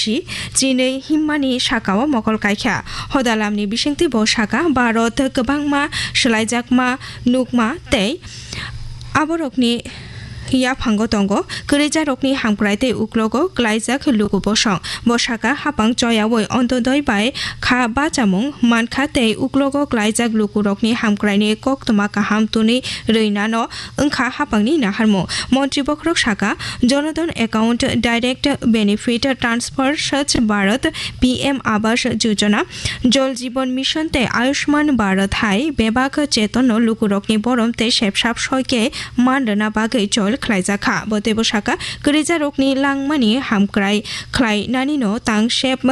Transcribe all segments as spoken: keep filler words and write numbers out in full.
si chinwi himmani sakao mokol kaikha. Hodalamni bisingtwi bo sakha, Bharat kwbangma swlaijakma nukma tei aborokni yaphango tongo, kwrwijarokni hamkrai tei uklogo klaijak luku bosong. Bo sakha, hapang choyawi Antyodoi bai kha bachamung mankha tei uklogo klaijak lukurokni hamkraini koktwma kaham twnwi rwinano wngkha hapangni naharmung. Montri bokhorok sakha, Janadhan Account Direct Benefit Transfer Swachh Bharat, P M Awas Yojana, Jal Jeevan Mission tei Ayushman Bharat hai bebak chetonno lukurokni borom tei sepsap soike man rwna bagwi chol khlaijakha. Bo teibo sakha, kwrwijarokni langmani hamkrai khlainanino tangsep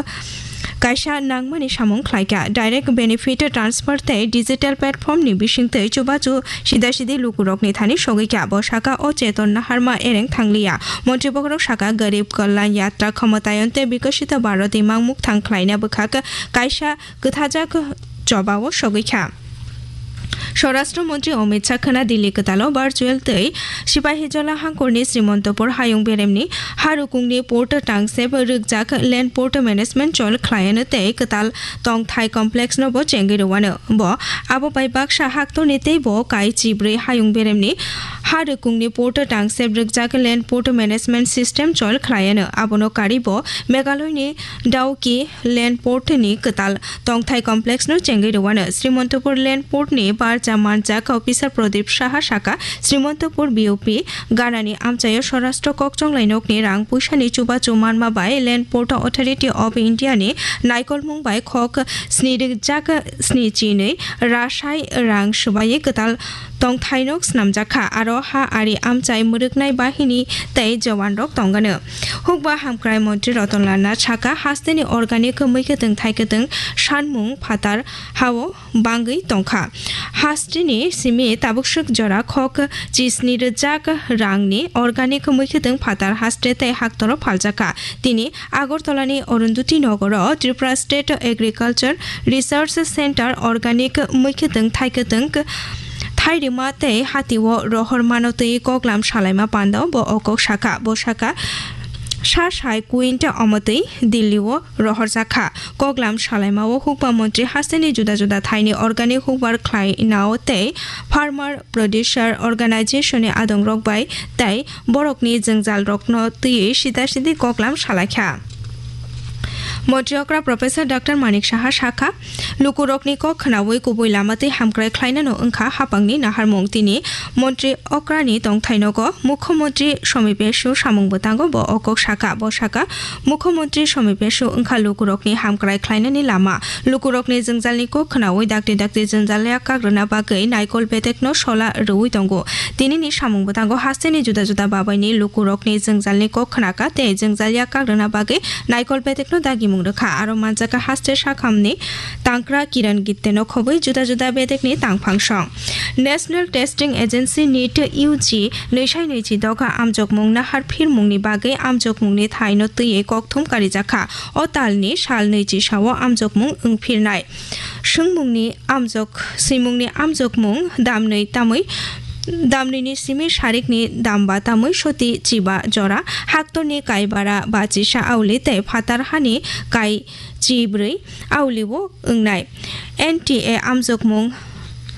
kaisa nangmani samung khlaikha. Direct benefit transfer tei digital platform ni bisingtwi chubachu sida sidi lukurokni thani sogwikha. Bo sakha, o cheton naharma ereng thangliya. Montri bokhorok sakha, Garib Kalyan Yatra Khamatayan tei Bikasita Bharat imang mukthang khlaina bwkhak kaisa kwthajak chobao sogwikha. Swarashtra Montri Amit Shah khwna Delhi kwtalo virtual tei Sipahijola hangkorni Srimantapur hayung beremni harukungni port tangsep rwkjak Land Port Management chol khlaiano tei kwtal tongthai complex no bo chengwi rwano. Bo abo bai baksa haktorni tei bo kai chibrwi hayung beremni harukungni port tangsep rwkjak Land Port Management System chol khlaiano. Abono karwi bo Meghalaya ni Dawki Land Port ni kwtal tongthai complex no chengwi rwano. Srimantapur Land Port ni barja manjak officer Pradip Saha sakha, Srimantapur B O P ganani amchaio Swarashtra kokchonglai nokni rang puisani chubachu manma bai Land Port Authority of India ni naikolmung bai khok sni rwkjak sni chinwi rasai rang swbaiwi kwtal tongthaino snamjakha, aro ha ari amchai mwrwknai bahini tei jowanrok tongano. Hukba hamkrai montri Ratan Lal Nath sakha, hasteni organic mui kwtwng thai kwtwng sanmung phatar hao bangwi tongkha. Hasteni simi tabukswk jora khok chisni rwjak rangni organic mui kwtwng phatar haste tei haktoro phaljakha. Tini Agartala ni Arundhati Nogoro Tripura State Agriculture Research Centre organic mui kwtwng thai kwtwng thairima tei hatio rohor mano twi koklam salaima pandao bo o kok sakha. Bo sakha, sa sai quintal omo twi Delhi o rohorjakha. Koklam salaimao hukba montri hasteni juda juda thaini organic hukbar khlainao tei farmer producer organization ni adongrok bai tei borokni jwngjalrokno twiwi sida sidi koklam salaikha. Montri okra Professor Doctor Manik Saha sakha, lukurokni kok khnaui kubui lama twi hamkrai khlainano wngkha hapangni naharmung. Tini montri okrani tongthainogo Mukhyamantri Somi Pesu samung bwtango bo o kok sakha. Bo sakha, Mukhyamantri Somi Pesu wngkha lukurokni hamkrai khlainani lama. Lukurokni jwngjalni kok khnaui dakti dakti jwngjal yak kagrwna bagwi naikol bedekno sola rwui tongo. Tinini samung bwtango hasteni juda juda babaini lukurokni jwngjalni kok khnakha tei jwngjal yak kagrwna bagwi naikol bedekno dagimung rwkha. Aro manjakha haste sakhamni tangkra Kiran Gitteno khobwi juda juda bedekni tangphang song. National Testing Agency, NEET, U G nwi sai nwi chi doga amjokmung nahar phirmungni bagwi amjokmungni thaino twiwi kokthum karijakha. O talni sal nwi chi sao amjokmung wngphirnai. Swngmungni amjok, swimungni amjokmung damnwi tamwi, damnwini simi sarikni damba tamwi soti chiba jora, haktorni kaibara bachisa auli tei phatar hani kai chibrwi aulibo wngnai. N T A amjokmung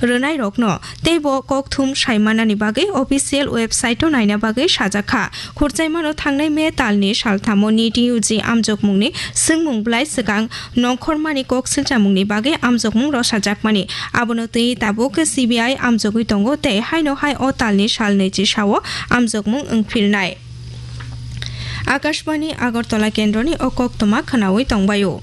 rwnairokno teibo kokthum saimanani bagwi official website-o naina bagwi sajakha. Khurchaimano thangnai May talni salthamo NEET U G amjokmungni swngmung bwlai swkang nongkhormani kok silchamungni bagwi amjokmung rosajakmani. Abono twi tabuk C B I amjogwi tongo tei haino hai o talni sal nwi chi sao amjokmung wngphirnai. Akashbani Agartala kendroni o koktwma khwnaui tongbaio.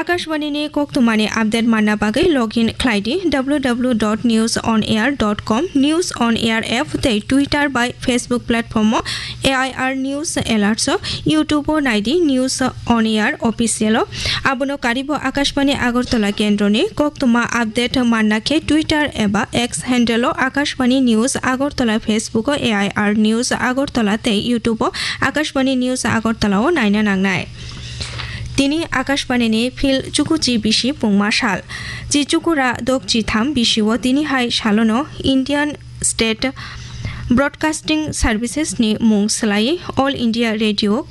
Akashbani ni koktwmani update manna bagwi login khlai di W W W dot news on air dot com, News on Air app tei Twitter bai Facebook platform o A I R News Alerts o, YouTube o nai di News on Air Official o. Abono karibo Akashbani Agartala kendroni koktwma update manna khe Twitter eba X handle o Akashbani News Agartala, Facebook o A I R News Agartala tei YouTube o Akashbani News Agartala o naina nangnai. Tini Akashbani ni phil chukuchi bisi pungma sal. Chi chukura dok chi tham bisi o tini hai salono Indian State Broadcasting Services ni mung swlaiwi All India Radio